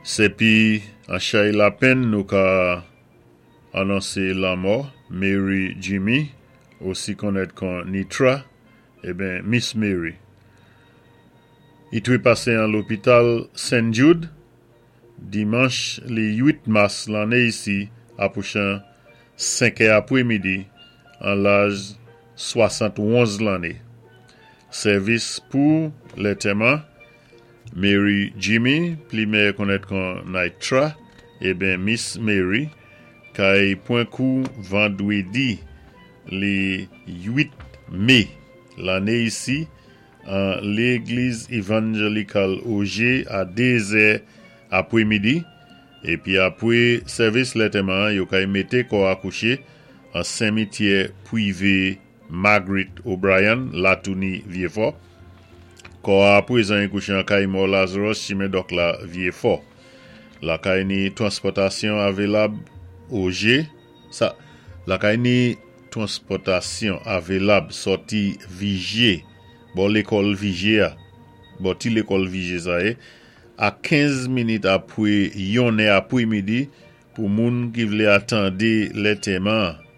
Sépi an chay lapenn nou ka anonsé lanmò Mary Jimmy, osi konnèt kon Nitra, eben Miss Mary. I twépasé an lopital Sen Jude dimanch li 8 mas lanné isi apwouchan 5 è apwémidi an laj 71 lanné. Sèvis pou lètèman Mary Jimmy, pli mèyè konnèt kon Nitra, eben Miss Mary, kay pwan kou vandwédi li 8 mé lanné isi an Légliz Evanjelikal Ogé a 2 zè apwémidi, épi apwé sèvis lètèman an yo kay mété kò a kouché an senmityè pwivé Margaret O'Brien, Latouni, Vyéfò. Kò a apwézan i kouché an kay mò Lazarus, chimen Dòk la, Vyéfò. Lakay ni twanspòtasyon avelab Ogé, sa, lakay ni twanspòtasyon avelab sòti Vijye, bò lékòl Vijye a, bò ti lékòl Vijye sa yé, a 15 minit apwé yonnè apwémidi pou moun ki vlé atandé lètèman an.